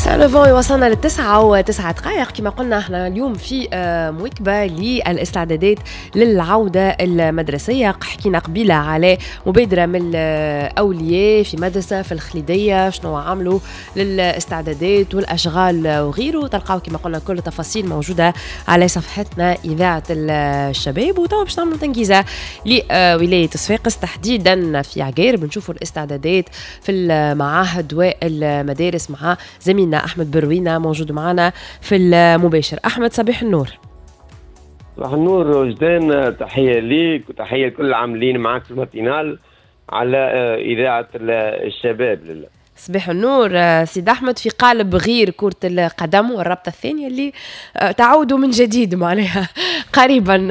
9 وصلنا ل9:09. كما قلنا احنا اليوم في مواكبة للاستعدادات للعودة المدرسية. حكينا قبيلة على مبادرة من الأولياء في مدرسة في الخليدية، شنو عملوا للاستعدادات والأشغال وغيره. تلقاو كما قلنا كل التفاصيل موجودة على صفحتنا إذاعة الشباب. وتوا باش نعملوا تنجيزة لولاية صفاقس تحديدا في عقارب، نشوفوا الاستعدادات في المعاهد والمدارس مع زميلنا أحمد بروينة موجود معنا في المباشر. أحمد صباح النور. صباح النور وجدان، تحية ليك وتحية لكل العاملين معك في ال matinale على إذاعة الشباب. لله صباح النور سيد أحمد. في قالب غير كرة القدم والرابطة الثانية اللي تعود من جديد معناها قريبا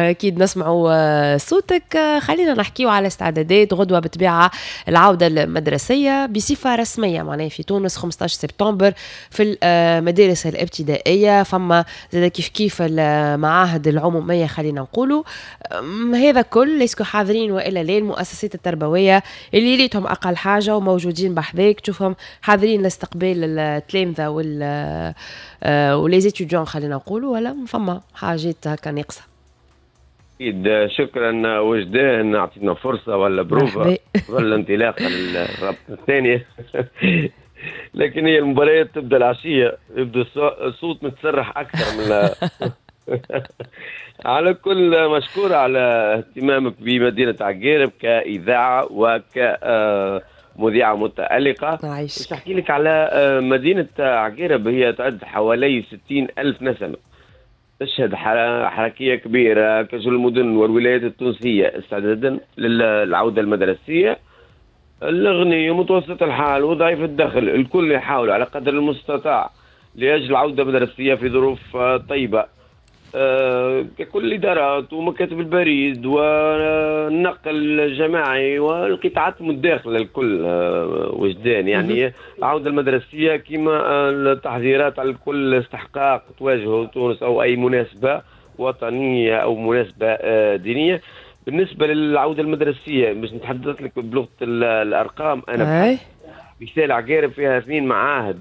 أكيد نسمعوا صوتك. خلينا نحكيو على استعدادات غدوة بطبيعة العودة المدرسية بصفة رسمية معناها في تونس 15 سبتمبر في المدارس الابتدائية، فما زاد كيف كيف المعاهد العمومية. خلينا نقولوا هذا كل est-ce que حاضرين وإلا لا؟ المؤسسات التربوية اللي ريتهم أقل حاجة وموجودين بحذاك تشوفهم حاضرين لاستقبال التلامذة و les étudiants خلينا نقولوا، ولا فما حاجات هكا ناقصة؟ أكيد. شكرا وجدان، أعطينا فرصة ولا بروفا ولا انطلاقة للرابطة الثانية. لكن هي المباريات تبدا العشية، يبدو الصوت متسرح أكثر من على كل. مشكورة على اهتمامك بمدينة عقارب كإذاعة وك مذيعة متألقة. باش نحكي لك على مدينة عقارب، هي تعد حوالي 60,000 نسمة، تشهد حركية كبيرة كجل المدن والولايات التونسية استعدادا للعودة المدرسية. الغني ومتوسط الحال وضعيف الدخل الكل يحاول على قدر المستطاع لأجل العودة المدرسية في ظروف طيبة. ككل الإدارات ومكاتب البريد والنقل الجماعي والقطاعات المتداخلة الكل وجدان. يعني العودة المدرسية كما التحذيرات على كل استحقاق تواجهه تونس أو أي مناسبة وطنية أو مناسبة دينية. بالنسبة للعودة المدرسية باش نتحدث لك بلغة الأرقام، أنا مثال عقارب فيها 2 معاهد،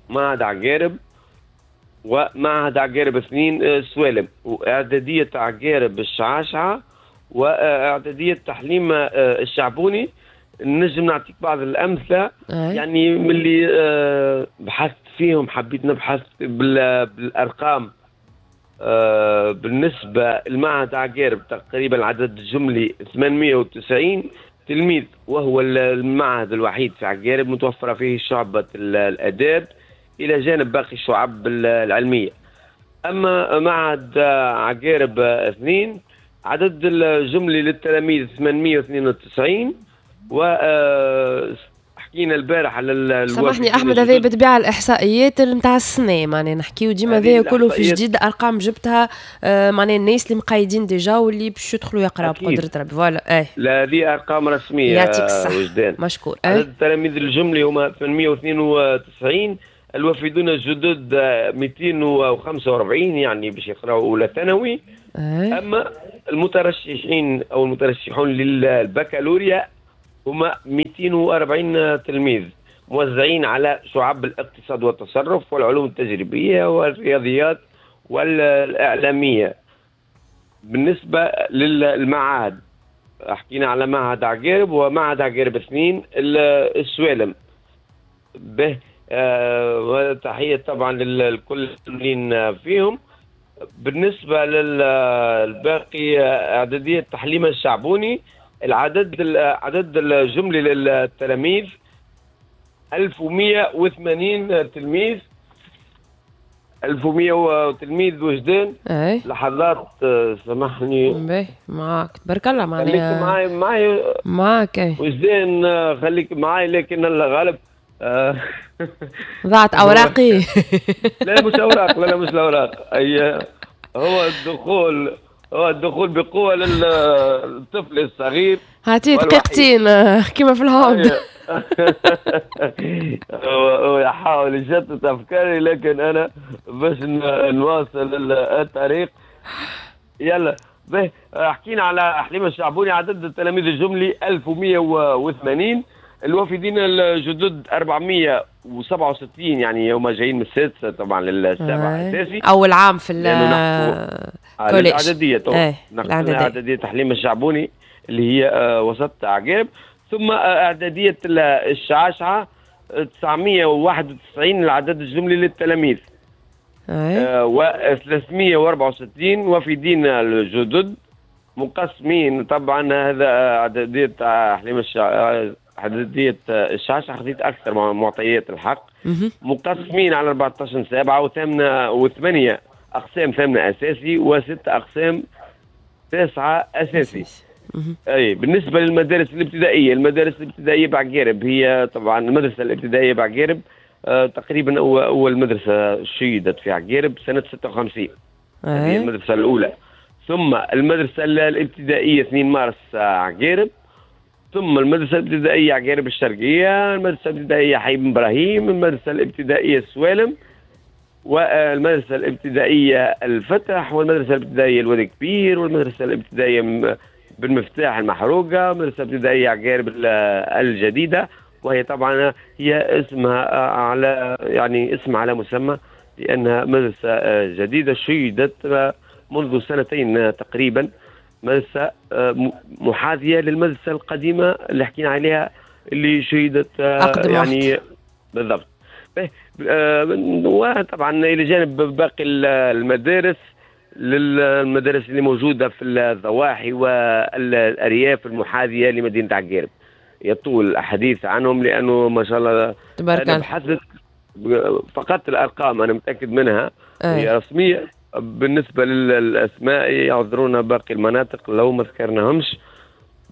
معهد عقارب ومعهد عقارب 2 سوالم، وإعدادية عقارب الشعاشعة، وإعدادية تحليم الشعبوني. نجم نعطيك بعض الأمثلة يعني من اللي بحثت فيهم، حبيت نبحث بالأرقام. بالنسبة لمعهد عقارب تقريبا العدد الجملي 890 تلميذ، وهو المعهد الوحيد في عقارب متوفرة فيه شعبة الآداب إلى جانب باقي الشعب العلمية. أما معهد عقارب 2 عدد الجملي للتلاميذ 892. و حكينا البارح على سامحني أحمد، هذه بالطبيعة الإحصائيات نتاع السنة، معناها نحكيو ديما هذا كله في جديد، أرقام جبتها معناها الناس اللي مقيدين déjà واللي باش يدخلوا يقراو بقدرة ربي. voilà. لا هذه أرقام رسمية. يعطيك الصحة وجدان، مشكور. عدد التلاميذ الجملي هما 892، الوافدون الجدد 245 يعني باش يقراوا أولى ثانوي. أما المترشحين أو المترشحون للبكالوريا هما 240 تلميذ موزعين على شعب الاقتصاد والتصرف والعلوم التجريبية والرياضيات والإعلامية. بالنسبة للمعاهد حكينا على معهد عقارب ومعهد عقارب 2 السوالم به. وتحية طبعا للكل اللي فيهم. بالنسبة للباقي إعدادية تحليم الشعبوني العدد الجملي للتلاميذ 1180 تلميذ، 1100 تلميذ وجدان. لحظات سامحني. معاك تبارك الله، معناها خليك معاي معاك وجدان، خليك معاي لكن الغالب ضاعت اوراقي. لا مش اوراق، لا مش الاوراق، اي هو الدخول بقوة للطفل الصغير. هاتي دقيقتين كيما في الهوند. هو يحاول يشتت افكاري لكن انا باش نواصل الطريق. يلا به. حكينا على حليم الشعبوني عدد التلاميذ الجملي 1180، الوافدين الجدد 400 967، يعني هما جايين من السادسة طبعا للسابعه اساسي، اول عام في ال collège. الاعدادية الاعدادية حليمة الشعبوني اللي هي وسط عقارب. ثم اعدادية الشعاشعه 991 العدد الجملي للتلاميذ، و364 وفدين الجدد مقسمين. طبعا هذا اعدادية حليمة اعدادية الشعشعه، خذيت اكثر معطيات الحق، مقسمين على 14 سابعه و8 اقسام ثامنه اساسي وست اقسام تاسعه اساسي. اي بالنسبة للمدارس الابتدائية، المدارس الابتدائية بعقارب هي طبعا المدرسة الابتدائية بعقارب تقريبا اول مدرسه شيدت في عقارب سنة 56، هذه المدرسة الاولى. ثم المدرسة الابتدائية 2 مارس عقارب، ثم المدرسة الابتدائية عقارب الشرقية، المدرسة الابتدائية حي بن ابراهيم، المدرسة الابتدائية السوالم، والمدرسة الابتدائية الفتح، والمدرسة الابتدائية الوادي كبير، والمدرسة الابتدائية بالمفتاح المحروقه، المدرسة الابتدائية عقارب الجديدة، وهي طبعا هي اسمها على يعني اسم على مسمى لانها مدرسه جديدة شيدت منذ سنتين تقريبا، مدرسه محاذيه للمدرسة القديمة اللي حكينا عليها اللي شيدت يعني بالضبط. وطبعا الى جانب باقي المدارس، للمدارس اللي موجودة في الضواحي والارياف المحاذيه لمدينة عقارب، يطول الحديث عنهم لانه ما شاء الله تبارك الله. بحثت فقط الارقام انا متاكد منها هي رسمية. بالنسبة للاسماء يعذرونا باقي المناطق لو ما ذكرناهمش.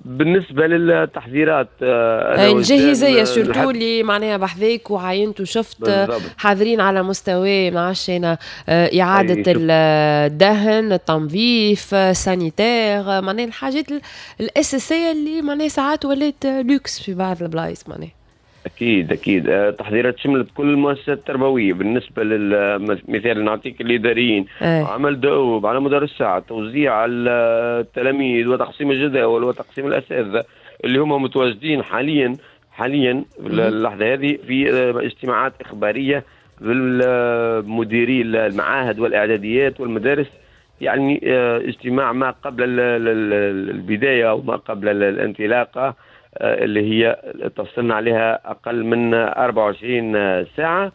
بالنسبة للتحذيرات الجاهزيه surtout اللي معناها بحذاك وعاينت وشفت حاضرين على مستوى ما عادش انا اعاده الدهن، التنظيف، sanitaire، معناها الحاجات الاساسية اللي معناها ساعات ولات لوكس في بعض البلايص معناها. اكيد اكيد تحضيرات شملت كل المؤسسات التربوية. بالنسبة للمثال نعطيك الاداريين، عمل دؤوب على مدار الساعة، توزيع التلاميذ وتقسيم الجداول وتقسيم الاساتذة اللي هم متواجدين حاليا في اللحظة هذه في اجتماعات اخبارية بالمديري المعاهد والاعداديات والمدارس، يعني اجتماع ما قبل البداية او ما قبل الانطلاقة اللي هي تصلنا عليها أقل من 24 ساعة.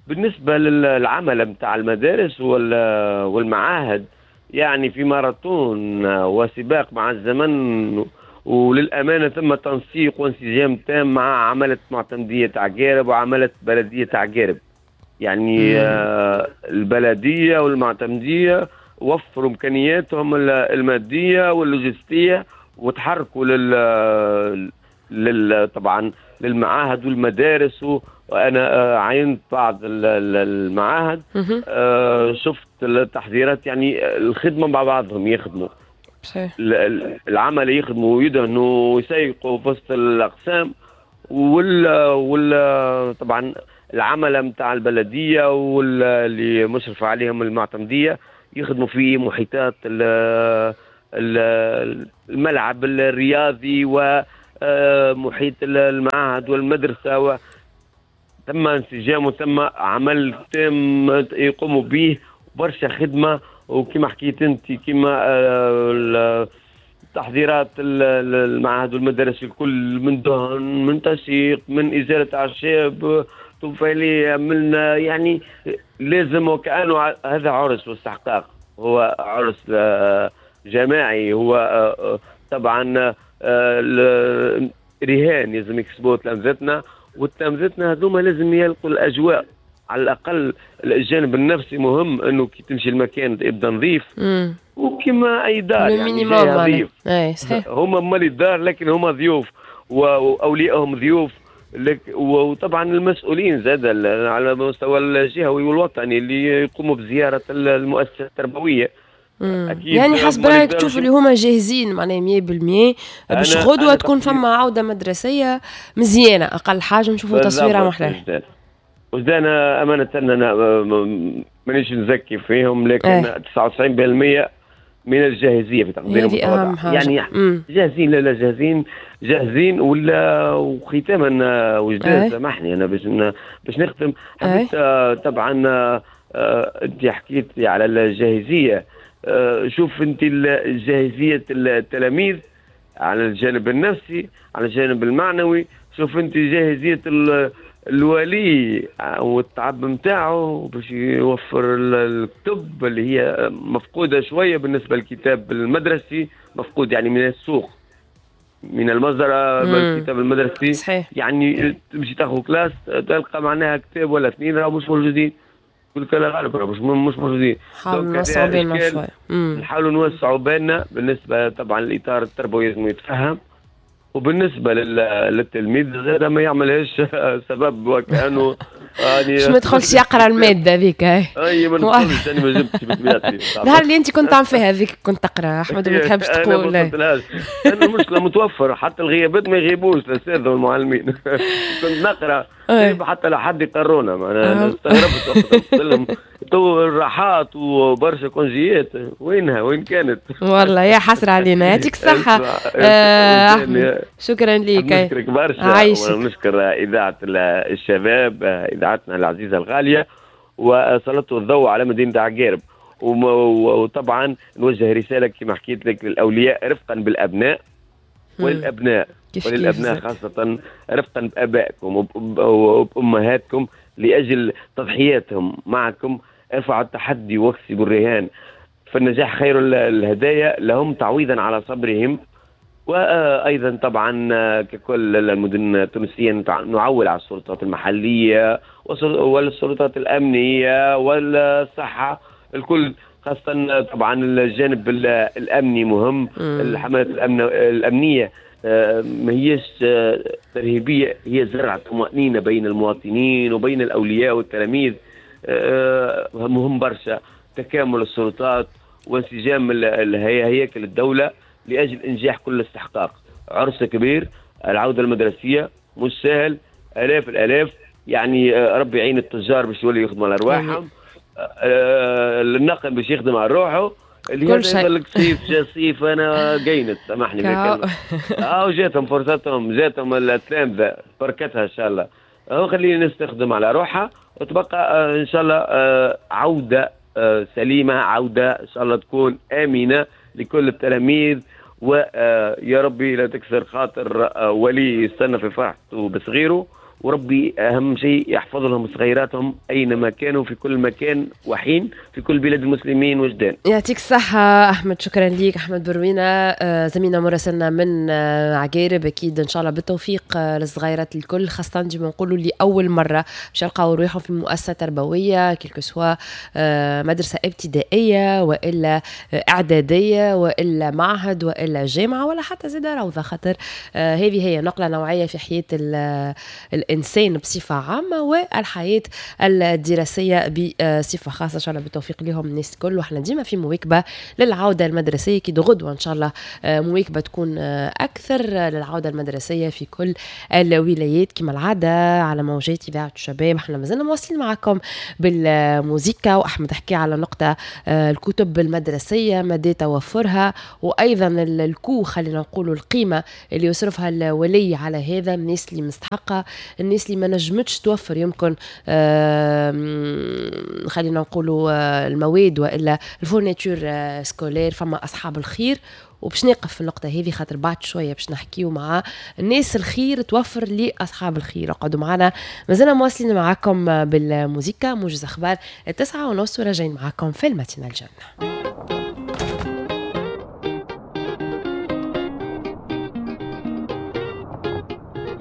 بالنسبة للعمل متاع المدارس والمعاهد، يعني في ماراثون وسباق مع الزمن، وللأمانة ثم تنسيق وانسجام تام مع عملة معتمدية عقارب وعملة بلدية عقارب. يعني البلدية والمعتمدية وفروا إمكانياتهم المادية واللوجستية وتحركوا طبعا للمعاهد والمدارس. وانا عينت بعض المعاهد، شفت التحذيرات، يعني الخدمة مع بعضهم يخدموا العمل، يخدموا ويدهنوا ويسيقوا في وسط الاقسام، طبعا العملة نتاع البلدية واللي مشرفة عليهم المعتمديه يخدموا في محيطات الملعب الرياضي ومحيط المعهد والمدرسة، تم انسجام وتم عمل تام يقوموا به برشا خدمة. وكما حكيت انت كما تحضيرات المعاهد والمدارس الكل، من دهن، من تسيق، من ازالة اعشاب طفيليه، من يعني لازم وكانه هذا عرس واستحقاق، هو عرس جماعي، هو طبعا رهان لازم يكسبوه تلامذتنا، وتلامذتنا هذوما لازم يلقوا الاجواء على الاقل. الجانب النفسي مهم، انه كي تمشي المكان يبدا نظيف، وكما اي دار يعني نظيف. هما مالي الدار لكن هما ضيوف واوليائهم ضيوف، وطبعا المسؤولين زاد على المستوى الجهوي والوطني اللي يقوموا بزيارة المؤسسة التربوية. أكيد يعني حسب رايك تشوف اللي هما جاهزين معناها 100% باش غدوه تكون فما عوده مدرسيه مزيانه، اقل حاجة نشوفوا تصويره محلاها. وزدان امانه انا مانيش نزكي فيهم، لكن 99% من الجاهزيه في تقدير المتواضع. يعني جاهزين، لا لا جاهزين جاهزين ولا. وختاما وجدان سامحني انا باش نختم، حبيت طبعا انت حكيت على الجاهزيه. شوف انت جاهزية التلاميذ على الجانب النفسي، على الجانب المعنوي، شوف انت جاهزية الولي والتعب نتاعو باش يوفر الكتب اللي هي مفقودة شوية بالنسبة للكتاب المدرسي، مفقود يعني من السوق من المزرعة الكتاب المدرسي. صحيح. يعني تمشي تاخذ classe تلقى معناها كتاب ولا اثنين راهو مش موجودين، كل كلا غالب راهو مش موجودين. نحاولوا نوسعوا بالنا شوي، نحاولوا نوسعوا بالنا. بالنسبة طبعا الاطار التربوي لازم يتفهم، وبالنسبة للتلميذ زاد ما يعملهاش سبب وكانه يعني مش ما يدخلش يقرا المادة هذيك. اي ما ندخلش، انا ما جبتش بطبيعتي. النهار اللي انت كنت تعمل فيها هذيك كنت تقرا احمد وما تحبش تقول. انا المشكلة متوفر، حتى الغيابات ما يغيبوش الاساتذة والمعلمين. كنت نقرا حتى لا حد يقرونا، انا استغربت قلت لهم تو الراحات وبرشا كونجيات وينها وين كانت؟ والله يا حسرة علينا. يعطيك الصحة شكرا لك. نشكرك برشا ونشكر إذاعة الشباب، إذاعتنا العزيزة الغالية، وسلطوا الضوء على مدينة عقارب. وطبعا نوجه رسالة كما حكيت لك للأولياء رفقا بالأبناء وللأبناء وللأبناء خاصة رفقا بآبائكم وبأمهاتكم لأجل تضحياتهم معكم. ارفعوا التحدي واكسبوا الرهان، فالنجاح خير الهدايا لهم تعويضا على صبرهم. وايضا طبعا ككل المدن التونسية نعول على السلطات المحلية والسلطات الامنية والصحة الكل، خاصة طبعا الجانب الامني مهم. الحملات الامنية ما هيش ترهيبيه، هي زرع طمانينة بين المواطنين وبين الاولياء والتلاميذ. مهم برشا تكامل السلطات وانسجام هياكل الدولة لاجل انجاح كل استحقاق. عرس كبير، العودة المدرسية مش سهل، الاف الالاف، يعني ربي يعين التجار باش يولي يخدموا على ارواحهم، النقل باش يخدم على روحه، اللي كل شيء يقول لك صيف جا صيف انا قينت سامحني بالكلمة. وجاتهم فرصتهم، جاتهم التلامذه بركتها ان شاء الله. خلينا نستخدم على روحها وتبقى ان شاء الله عوده سليمة، عوده ان شاء الله تكون امنه لكل التلاميذ، ويا ربي لا تكسر خاطر ولي يستنى في فرحته بصغيره، وربي اهم شيء يحفظ لهم صغيراتهم اينما كانوا في كل مكان وحين في كل بلاد المسلمين وجدان. يعطيك الصحة احمد، شكرا ليك احمد بروينة، زميلنا مراسلنا من عقارب. اكيد ان شاء الله بالتوفيق للصغيرات الكل، خاصة ديما نقولوا اللي اول مرة باش يلقاو روحهم في مؤسسة تربوية، quel que soit مدرسة ابتدائية والا اعدادية والا معهد والا جامعة ولا حتى زاد روضة، خاطر هذه هي نقلة نوعية في حياة الإنسان بصفة عامة والحياة الدراسية بصفة خاصة. إن شاء الله بالتوفيق لهم الناس الكل، وإحنا ديما في مواكبة للعودة المدرسية، كي غدوة إن شاء الله مواكبة تكون أكثر للعودة المدرسية في كل الولايات كما العادة على موجات إذاعة الشباب. إحنا مازلنا مواصلين معكم بالموزيكا، وأحمد حكي على نقطة الكتب المدرسية مدى توفرها، وأيضا ال coût خلينا نقولوا القيمة اللي يصرفها الولي على هذا، الناس اللي مستحقة، الناس اللي ما نجمتش توفر يمكن خلينا نقولوا المواد والا ال fournitures scolaires. فما اصحاب الخير، وباش نقف في النقطة هذه خاطر بعد شوية باش نحكيو مع الناس الخير توفر لأصحاب الخير. اقعدوا معنا، مازلنا مواصلين معاكم بالموزيكا. موجز أخبار 9:30 وراجعين معاكم في الماتينال الجنة.